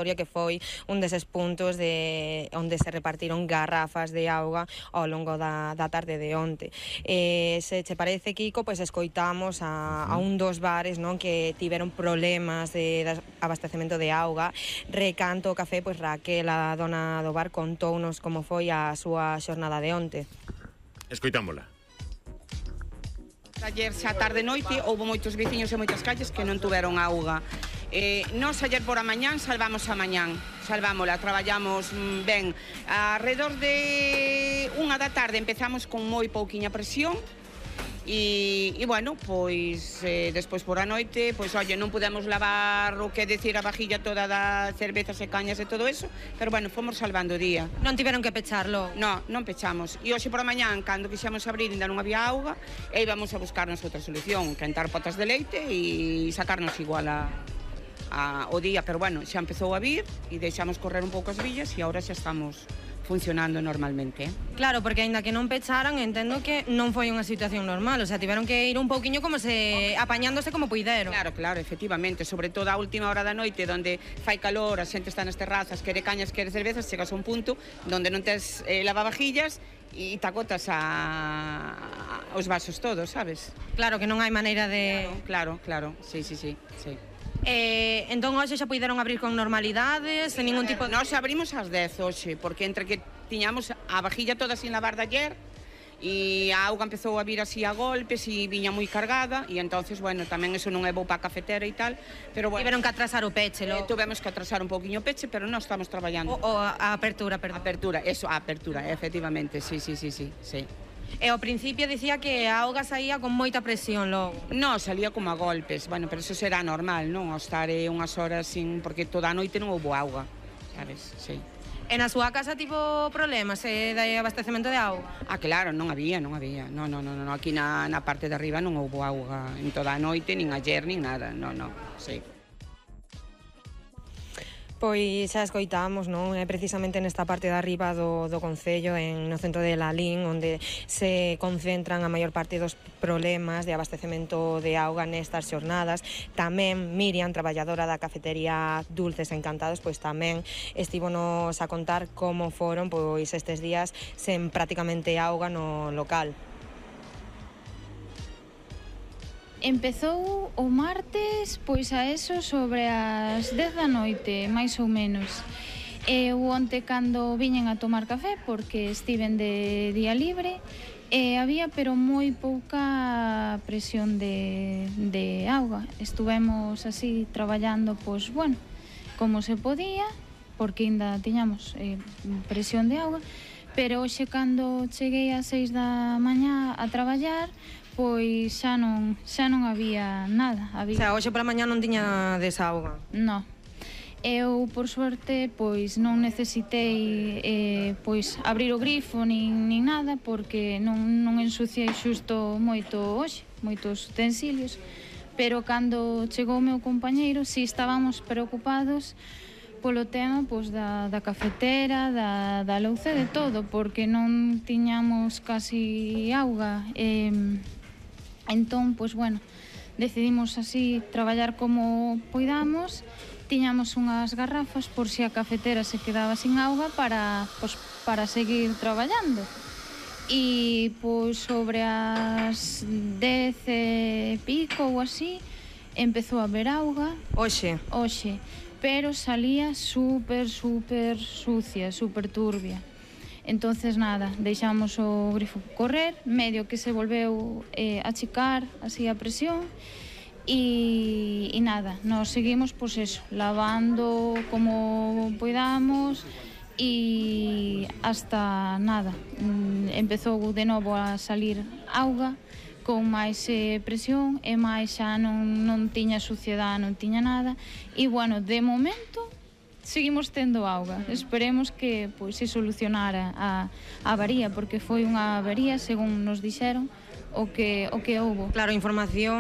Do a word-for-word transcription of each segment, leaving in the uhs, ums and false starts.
que foi un deses puntos de onde se repartiron garrafas de auga ao longo da, da tarde de onte. Eh, se che parece, Kiko, pois escoitamos a, a un dos bares, non, que tiveron problemas de, de abastecemento de auga. Recanto o café, pois Raquel, a dona do bar, contounos como foi a súa xornada de onte. Escoitámola. Ayer xa tarde noite houve moitos veciños e moitas calles que non tuveron auga. Eh, nos ayer por a mañán salvamos a mañán, salvámola, traballamos ben. Alrededor de unha da tarde empezamos con moi pouquiña presión e, e bueno, pois eh, despois por a noite, pois oye, non podemos lavar o que decir a vajilla toda da cervezas e cañas e todo eso, pero bueno, fomos salvando o día. Non tiveron que pecharlo? No, non pechamos. E hoxe por a mañán, cando quixemos abrir, ainda non había auga, e íbamos a buscarnos outra solución, quentar potas de leite e sacarnos igual a... A, o día, pero bueno, xa empezou a vir e deixamos correr un pouco as villas e agora xa estamos funcionando normalmente. Eh? Claro, porque aínda que non pecharan, entendo que non foi unha situación normal, o sea, tiveron que ir un pouquiño como se apañándose como puideron. Claro, claro, efectivamente, sobre todo a última hora da noite, donde fai calor, a xente está nas terrazas, quere cañas, quere cervezas, chegas a un punto donde non tes eh, lavavajillas e tacotas a... os vasos todos, sabes? Claro, que non hai maneira de... Claro, claro, claro. Sí, sí, sí, sí. Eh, entón hoxe xa puideron abrir con normalidades, sen ningún tipo de... Nós abrimos ás dez hoxe, porque entre que tiñamos a vajilla toda sin lavar de ayer e a auga empezou a vir así a golpes e viña moi cargada e entonces, bueno, tamén eso non é bo para a cafetera e tal, pero bueno, tiveron que atrasar o peche, eh, tuvemos que atrasar un pouquiño o peche, pero non estamos traballando. O, o a apertura, perdón. Apertura, eso, a apertura, efectivamente, sí, sí, sí, sí, sí. E ao principio dicía que a auga saía con moita presión logo. Non, salía como a golpes, bueno, pero eso será normal, non? O estar eh, unhas horas sin... porque toda a noite non houve auga, sabes? Sí. E na súa casa tivo problemas eh, de abastecemento de auga? Ah, claro, non había, non había. Non, non, non, non. Aquí na, na parte de arriba non houve auga en toda a noite, nin ayer, nin nada, non, non, sí. Pois xa escoitamos, non? É precisamente nesta parte de arriba do, do Concello, en, no centro de Lalín, onde se concentran a maior parte dos problemas de abastecemento de auga nestas xornadas. Tamén Miriam, traballadora da cafetería Dulces Encantados, pois tamén estivonos a contar como foron pois estes días sen prácticamente auga no local. Empezou o martes, pois a eso sobre as dez da noite, máis ou menos. Eu onte cando viñen a tomar café, porque estiven de día libre, e había pero moi pouca presión de, de auga. Estuvemos así traballando, pois, bueno, como se podía, porque ainda tiñamos eh, presión de auga, pero hoxe cando cheguei ás seis da mañá a traballar, pois xa non, xa non había nada. Había... O sea, hoxe pola mañá non tiña desauga? Non. Eu, por suerte, pois non necesitei eh, pois abrir o grifo nin, nin nada, porque non, non ensuciei xusto moito hoxe, moitos utensilios, pero cando chegou o meu compañeiro, si estábamos preocupados polo tema pois, da, da cafetera, da, da louce, de todo, porque non tiñamos casi auga. Eh, entón, pois, bueno, decidimos así traballar como poidamos. Tiñamos unhas garrafas por si a cafetera se quedaba sin auga para, pois, para seguir traballando. E pois sobre as dez e pico ou así empezou a haber auga. Oxe? Oxe. Pero salía super, super sucia, super turbia. Entonces nada, deixamos o grifo correr, medio que se volveu eh, a achicar así a presión e, e nada, nos seguimos pois eso, lavando como poidamos e hasta nada, empezou de novo a salir auga con máis eh, presión e máis xa non, non tiña suciedade, non tiña nada e bueno, de momento seguimos tendo auga. Esperemos que pois se solucionara a, a avaría, porque foi unha avaría, según nos dixeron, o que o que houbo. Claro, a información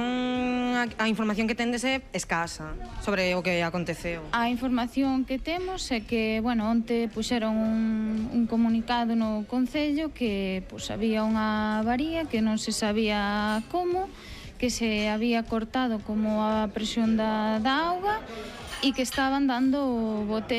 a, a información que tendes é escasa sobre o que aconteceu. A información que temos é que, bueno, onte puxeron un, un comunicado no Concello que pois había unha avaría que non se sabía como, que se había cortado como a presión da, da auga e que estaban dando bote